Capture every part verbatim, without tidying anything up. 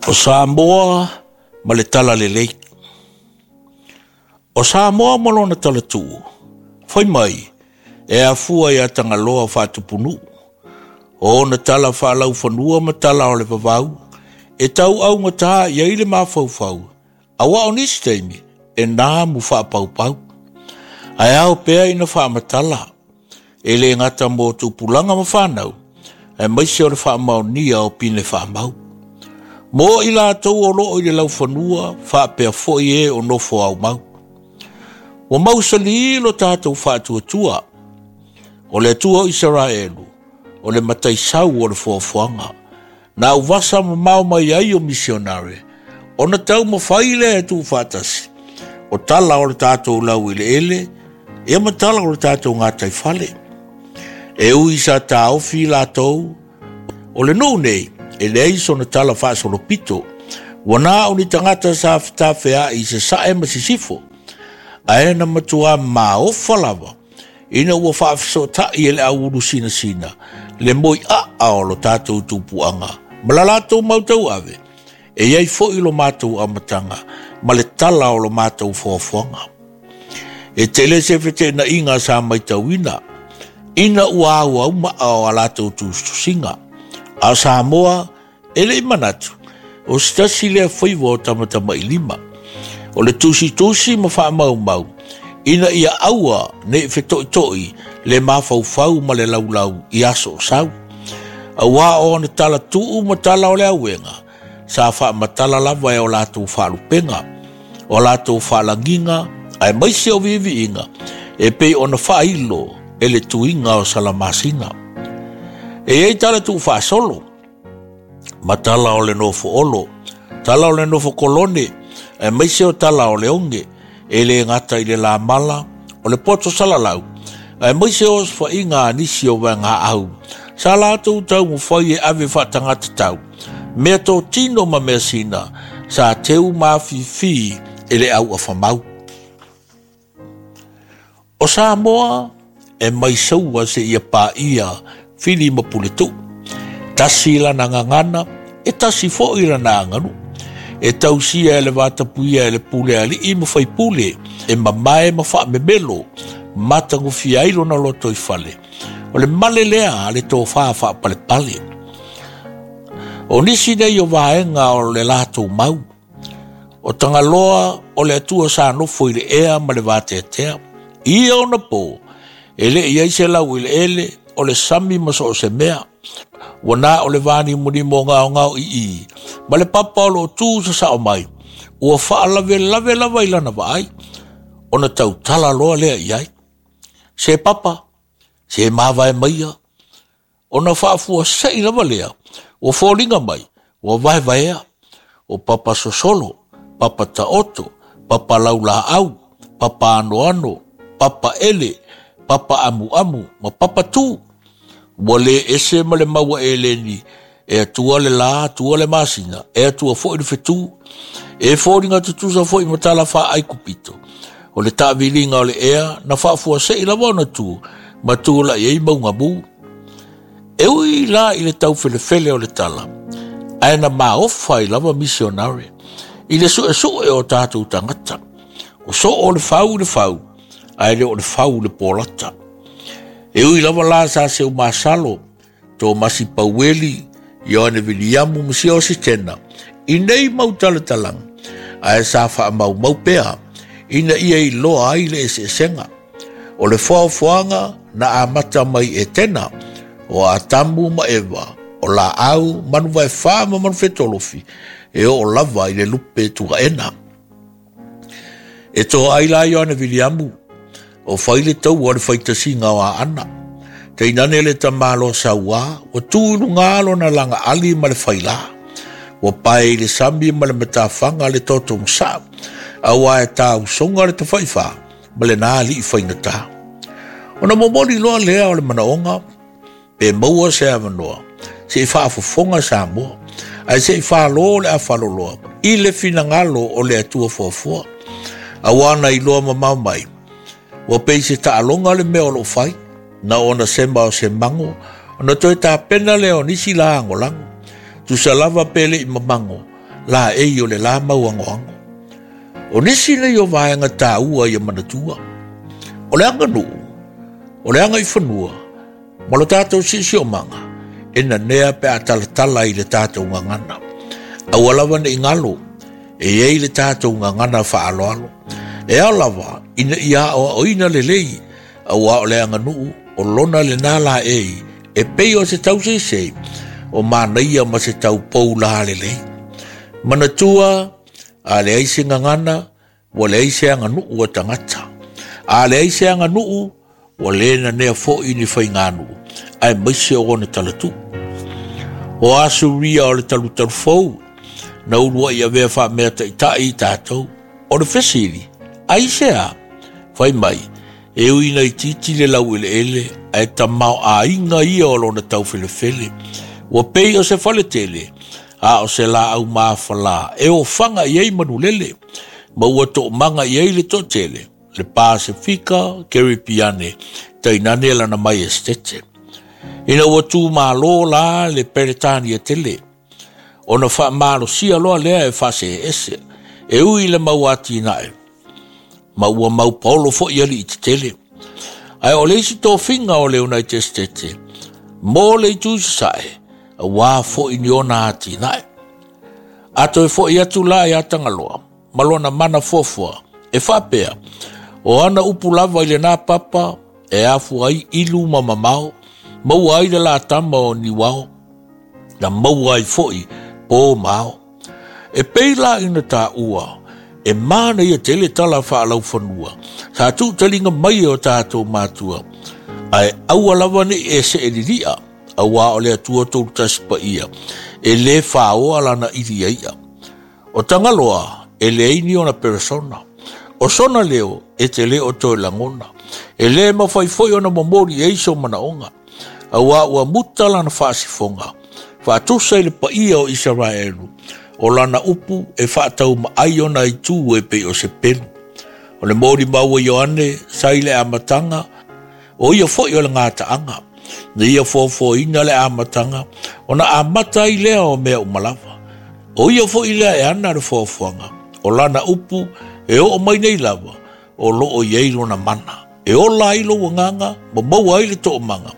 O Samoa ma le Talalelei. O Samoa ma lona talatuu, fai mai, e afua ia Tagaloa faatupunuu. O ona tala faalaufanua ma tala o le vavau, e tauaugata i ai le mafaufau, aua o nisi taimi, e namu faapaupau. Ae ao pea ina faamatala, e le gata mo tupulaga ma fanau, aemaise o le faamaonia o pine faamau. Mo i latou o loo i le laufanua, faapea foi e o nofo aumau. Ua mausali lo tatou faatuatua, o le Atua o Isaraelu, o le mataisau o le foafoaga, na auvasa mamao mai ai o misionare, ona taumafai lea e tuufaatasi, o tala o le tatou laueleele, ia ma tala o le tatou gataifale. E ui sa taofi latou, o le nuu nei, e leai sona tala faasolopito, ua na o ni tagata sa fetafeai i sasae ma sisifo, ae na matua maofa lava, ina ua faafesootai e le auulu sinasina, le moiaa o lo tatou tupuaga, ma la latou mau tauave, e iai foi lo matou amataga, ma le tala o lo matou foafoaga. E tele se feteenaiga sa maitauina, ina ua auaumaa o a latou tusitusiga. A o Samoa, e lei manatu, o se tasi lea faiva o tamatamailima, o le tusitusi ma faamaumau, ina ia aua nei fetoitoi le mafaufau ma le laulau i aso o sau. Aua o ona tala tuu ma tala o le auega, sa faamatala lava e o latou faalupega, o latou faalagiga, aemaise o viiviiga, e pei ona faailo e le tuiga o Salamasina. E iai tala tuufaasolo, ma tala o le nofo olo, tala o le nofo kolone, aemaise o tala o le oge, e le gata i le lamala, o le poto salalau, aemaise o osofaiga a nisi o vaegaau, sa latou taumafai e ave faatagata tau, mea totino ma mea sina, sa teu mafifi e le auafamau. O Samoa e maisaua seia paia fili ma puletuu, tasi lana gagana, e tasi foi lana aganuu, e tausia e le vatapuia e le pule alii ma faipule, e mamae ma faamemelo, matagofia ai lona lotoifale, o le male lea a le tofa faapalepale. O nisi nei o vaega o le latou mau, o Tagaloa o le Atua sa nofo i le ea ma le vateatea, ia ona po, e le i ai se laueleele, o le sami ma so o se mea, ua na o le vanimonimo gaogao ii, ma le papa o loo tu sasao mai, ua faalavelave lava i lana vaai, ona tautala loa lea i ai. Se papa, se mavae maia, ona faafuasei lava lea, ua foliga mai, ua vaevaea, o papa sosolo, papa taoto, papa laulaau, papa anoano, papa ele, papa amuamu, ma papa tu. Ua le ese ma le maua eleni, e atua le la, atua le masina, e atua foi le fetu, e foliga tutusa foi ma tala faaikupito. O le taaviliga o le ea, na faafuasei lava ona tu, ma tulai ai maugamu. E ui la i le taufelefele o le tala, ae na maofa ai lava misionare, i le suesue o tatou tagata. O soo o le fau i le fau, ae le o le fau i le polata. E ui lava la sa seu masalo, Tomasi Paueli, Ioane Viliamu ma Sio Sitena, i nei mau talatalaga, ae sa faamaumau pea, ina ia iloa ai le eseesega. O le foafoaga na amata mai e Tena, o Atamu ma Eva, o laau, manuvaefa ma manufetolofi, e oo lava i le lupe tuaena. E toa ai la Ioane Viliamu, o fai le taua o le faitasiga o Aana. Tainane le tamalo sauā, ua tu i luga lona lagaali ma le failā. Ua pae i le sami ma le matafaga le totomasaa, aua e tausoga le tafaifā ma lena alii faigata. Ona momoli loa lea o le manaoga, pe maua se avanoa, se'i faafofoga Samoa, ae se'i fālō le afaloloa, i le finagalo o le Atua foafoa. Aua na iloa mamao mai, ua pei se taaloga le mea o loo fai, na ona sema o se mago, ona toe tapena lea o nisi lagolago. Tusa lava pe lei mamago, Laei o le la mauagoago. O nisi nei o vaega taua ia manatua. O le aganuu, o le agaifanua, ma lo tatou siosiomaga, e nanea pe a talatala i le tatou gagana. Aua lava ne i galo, e i ai le tatou gagana faaaloalo. E ao lava ina ia aoaoina lelei, auā o le aganuu o lona lena laei, e pei o se tauseisei, o manaia ma se taupou la lelei. Manatua, a leai se gagana, ua leai se aganuu a tagata. A leai se aganuu, ua le nanea foi ni faiganuu, aemaise o ona talatuu. O Asuria o le talutalufou, na uluai avea faamea taitai i tatou. O le fesili, aisea? Fai mai, e ui ina itiiti le laueleele, ae tamaoaiga ia o lona taufelefele. Ua pei o se faletele, a o se laau mafala, e ofaga i ai manulele, ma ua toomaga i ai le toatele, le Pasefika, Keripiane, tainane lana maiestete. Ina ua tumalo la le Peretania tele, ona faamalosia loa lea e faaseese, e ui le mau atinae, ma ua mau paolo foi alii tetele. Ae o le isi tofiga o le United States, mo le itu i sasae, auā foi ni ona atinae. A toe foi atu la ia Tagaloa, ma lona mana fuafua, e faapea, o ana upu lava i lena papa, e afua ai ilu ma mamao, maua ai le latama o niuao, na maua ai foi po ma ao. E pei la ina taua, e manaia tele tala faalaufanua, sa tuutaliga mai e o tatou matua, ae aua lava nei e seelilia, auā o le Atua tolu tasi paia, e lē faoa lana ili ia. O Tagaloa, e leai ni ona peresona. O sona leo, e te le o toe lagona. E lē mafai foi ona momoli ai so manaoga. Auā ua muta lana faasifoga, faatusa i le paia o Isaraelu, o lana upu e faataumaai ona itu e pei o se pelu. O le molimau a Ioane sa i le amataga, o ia foi o le gataaga. Na ia foafoaina le amataga, ona amata ai lea o mea uma lava. O ia foi lea e ana le foafoaga, o lana upu e oo mai nei lava, o loo i ai lona mana. E ola ai lou agaga, ma maua ai le toomaga,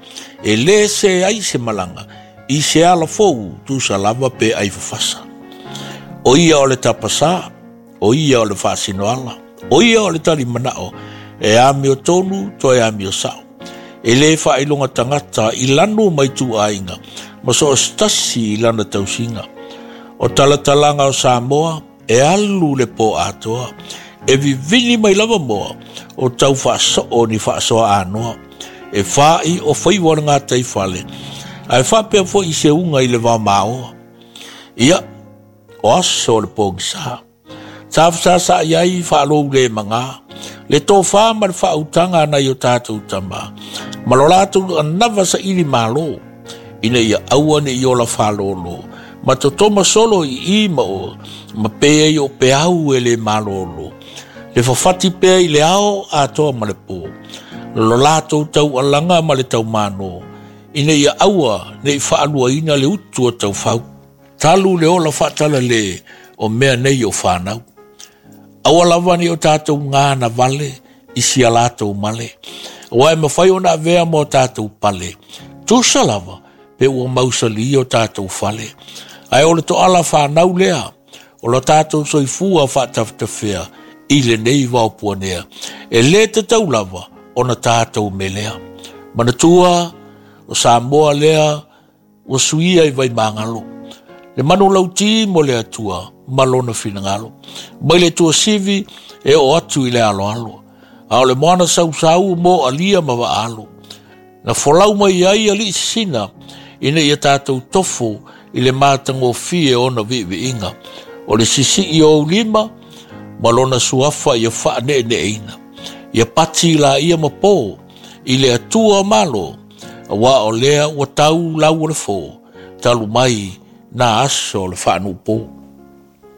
e lē se ai se malaga, i se ala fou tusa lava pe ai fafasa. O ia o le tapasā, o ia o le faasinoala, o ia o le talimanao, e amio tonu toe amio sao. E lē faailoga tagata i lanu mai tuaiga, ma so o se tasi i lana tausiga. O talatalaga o Samoa, e alu le po atoa, e vivini mai lava moa, o tau faasoo ni faasoa anoa, e fai o faiva o le gataifale, ae faapea foi i se uga i le vamaoa. Ia, o aso o le pogisā. Sa fesasaai ai faalou le magā, le tofā ma le faautaga a nai o tatou tamā, ma lo latou anava saili malo, ina ia aua ne i ola faalōlō, ma totoma solo i i ma o, ma pe ai o peau e le malōlō, le fafati pea i le ao atoa ma le pō, lo latou taualaga ma le taumānō, ina ia aua ne i faaluaina le utu o taufau. Talu le ola faatalale o mea nei o fanau. Aua lava nei o tatou gana vale i sia latou male. Auā e mafai ona avea ma o tatou pale. Tusa lava pe ua mausali o tatou fale. Ae o le toala fanau lea, o lo tatou soifua faatafetafea i lenei vaopuanea. E lē tatau lava ona tatou melea. Manatua, o Samoa lea ua suia i Vaimagalo. Le manulautī mo le Atua ma lona finagalo. Mai le tuasivi e oo atu i le aloalo. A o le moana sausau mo alia ma vaalo. Na folau mai ai alii sisina, ina ia tatou tofo i le matagofie ona viiviiga. O le sisii o ou lima, ma lona suafa ia faaneeneeina. Ia pati laia ma pō i le Atua o malo, auā o lea ua tau lau o le fō, talu mai na aso o le faanuupō.